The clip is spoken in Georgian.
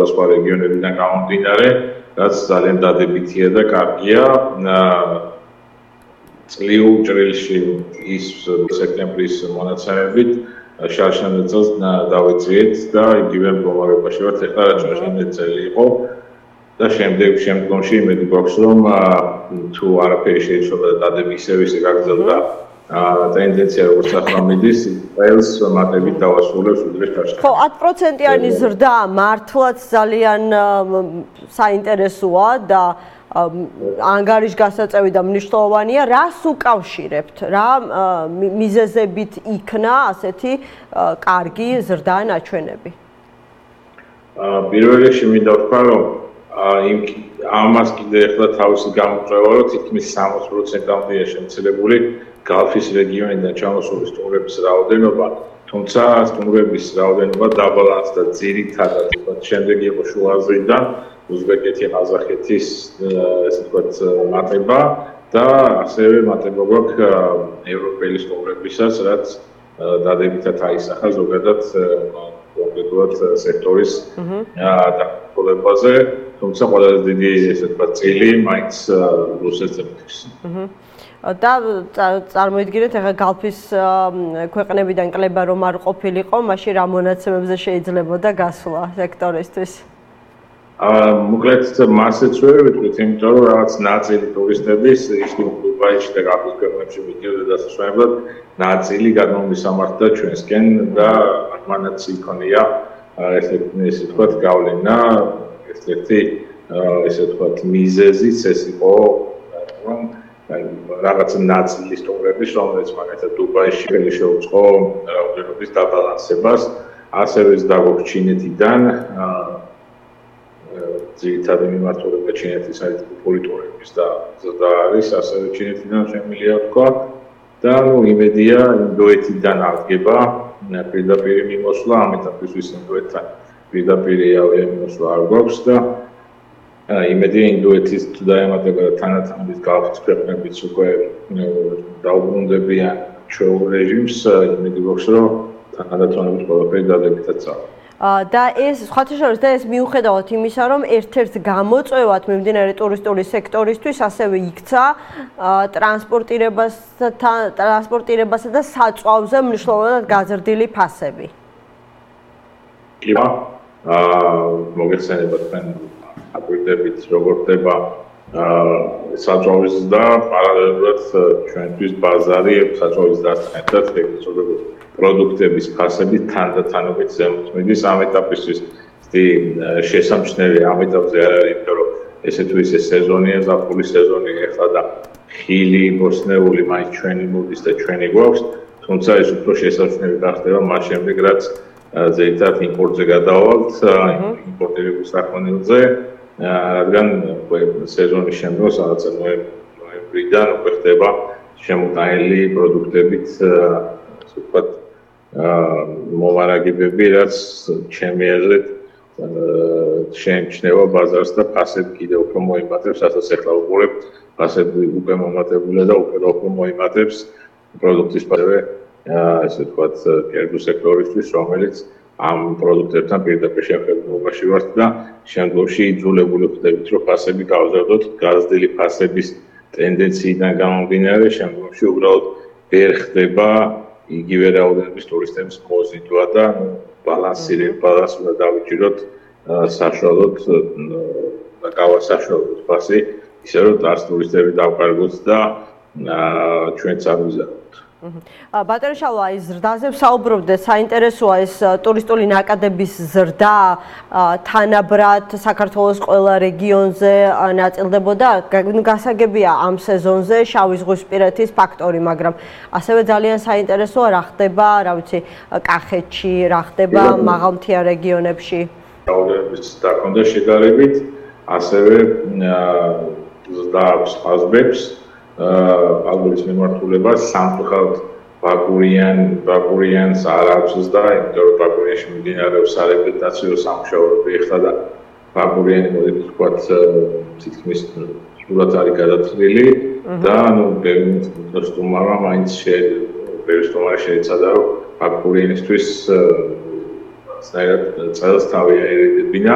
სხვადასხვა რეგიონებიდან გამომდინარე, რაც ძალიან დადებითია და კარგია. წლიურ ჭრილში ის სექტემბრის მონაცემებით შარშან წელს დავეწიეთ და იგივე მდგომარეობაში ვართ ეხლა რაც შარშან წელი იყო და შემდგომში იმედი გვაქვს რომ თუ არაფერი შეიცვალა და დადები ისევ გაგრძელდა ტენდენცია როგორც ახლა მიდის წელს მატებით დავასრულებს უდრეს შარშან. ხო 10%-იანი ზრდა მართლაც ძალიან საინტერესოა და ანგარიშგასაწევი და მნიშვნელოვანია. რას უკავშირებთ? რა მიზეზებით იქნა ასეთი კარგი ზრდა ნაჩვენები? პირველ რიგში მინდა ვთქვა, რომ ამას კიდე ახლა თავისი გამოწვევა, რომ თითქმის 60%-ამდეა შემცირებული გალფის რეგიონიდან ჩამოსული სტუმრების რაოდენობა, თუმცა სტუმრების რაოდენობა დაბალანსდა ძირითადად შემდეგ იყო შუა აზიიდან უზბეკეთი, ყაზახეთის ესე ვთქვათ მატება და ასევე მატება გვაქვს ევროპელი სტუმრებისაც, რაც დადებითად აისახა ზოგადად კონკრეტულად სექტორის დაყოლებაზე, თუმცა ყველაზე დიდი ესე ვთქვათ წილი მაინც რუსეთს. და წარმოიდგინეთ ახლა გალფის ქვეყნებიდან კლება რომ არ ყოფილიყო, მაშინ რა მონაცემებზე შეიძლებოდა გასვლა სექტორისთვის? მოკლედ მასეც ვერ ვიტყვით, იმიტომ რომ რაღაც ნაწილი ტურისტების ის დუბაიში და გალფის ქვეყნებში მიდიოდა დასასვენებლად, ნაწილი გადმომისამართდა ჩვენსკენ და მანაც იქონია ესე ვთქვათ გავლენა, ერთ-ერთი ესე ვთქვათ მიზეზიც ეს იყო რომ რაღაც ნაწილი სტუმრების, რომელიც მაგალითად დუბაიში შეუწყო რაოდენობის დაბალანსებას, ასევე დაგვაქვს ჩინეთიდან ძირითადი მიმართულება ჩინეთის საიდუმლო ტურიზმის და ზრდა არის, ასევე ჩინეთიდან შემიძლია ვთქვა და იმედია ინდოეთიდან აღდგება პირდაპირ მიმოსვლა, ამ ეტაპისთვის ინდოეთთან პირდაპირ ავიამიმოსვლა არ გვაქვს და იმედია ინდოეთის თუ დაემატება და თანათამის გალფის ქვეყნებიც უკვე დაუბრუნდებიან ჩვეულ რეჟიმს, იმედი გვაქვს რომ თანადატონებით ყველაფერი დადებითად წავა. და ეს სხვათა შორის და ეს მიუხედავად იმისა, რომ ერთ-ერთ გამოწვევად მიმდინარე ტურისტული სექტორისთვის ასევე იქცა ტრანსპორტირებასა და საწვავზე მნიშვნელოვნად გაზრდილი ფასები. კი, მოგეხსენება თქვენ აკვირდებით როგორ ხდება საწვავის და პარალელურად ჩვენთვის ბაზარი საწვავის დასწრებად ეგრეთ პროდუქტების ფასები თანდათანობით ზემოთ მიდის ამ ეტაპისთვის შესამჩნევი ამ ეტაპზე არ არის, იმიტომ რომ ესე თუ ისე სეზონია, ზაფხულის სეზონია ეხლა და ხილი, ბოსნეული მაინც ჩვენი მოდის და ჩვენი გვაქვს, თუმცა ეს უფრო შესამჩნევი გახდება მას შემდეგ, რაც ძირითადად იმპორტზე გადავალთ, იმპორტირების საქონელზე, რადგან სეზონის შემდგომ სადაც ნოემბრიდან უკვე ხდება შემოტანილი პროდუქტებით ასე ვთქვათ მომარაგებები, რაც ჩემი აზრით შეემჩნევა ბაზარს და ფასები კიდევ უფრო მოიმატებს, რასაც ეხლა ვუყურებთ, ფასები უკვე მომატებულია და უფრო მოიმატებს პროდუქტის ფასები, ასე ვთქვათ, კერძო სექტორისთვის, რომელიც ამ პროდუქტებთან პირდაპირ შემხედრებაში ვართ და შემდგომში იძულებული ხდებით, რომ ფასები გავზარდოთ, გაზრდილი ფასების ტენდენციიდან გამომდინარე, შემდგომში უბრალოდ ვერ ხდება იგივე რაოდენობის ტურისტების მოზიდვა და ბალანსი უნდა დავიჭიროთ საშუალოდ და გავასაშუალოთ ფასი, ისე რომ დარს ტურისტები დავკარგოთ და ჩვენც ავიზარდოთ. ბატონო შალვა, ის ზრდაზე ვსაუბრობდეთ, საინტერესოა ეს ტურისტული ნაკადების ზრდა თანაბრად საქართველოს ყველა რეგიონზე ნაწილდებოდა. გასაგებია ამ სეზონზე შავი ზღვისპირეთის ფაქტორი, მაგრამ ასევე ძალიან საინტერესოა რა ხდება, რა ვიცი, კახეთში, რა ხდება მაღალმთიან რეგიონებში. რაოდენობის დაკონდა შედარებით, ასევე ზრდა აქვს ყაზბებს. აგურის მიმართულება სამწუხაროდ ბაკურიანს არ აქვს ზრდა, იმიტომ რომ ბაკურიანში მიმდინარეობს სარეაბილიტაციო სამუშაოები ეხლა და ბაკურიანი მოდით ვთქვათ თითქმის სრულად არის გადაწყვეტილი და ბევრი სტუმარმა მაინც შეეცადა რომ ბაკურიანისთვის წელს თავი აერიდებინა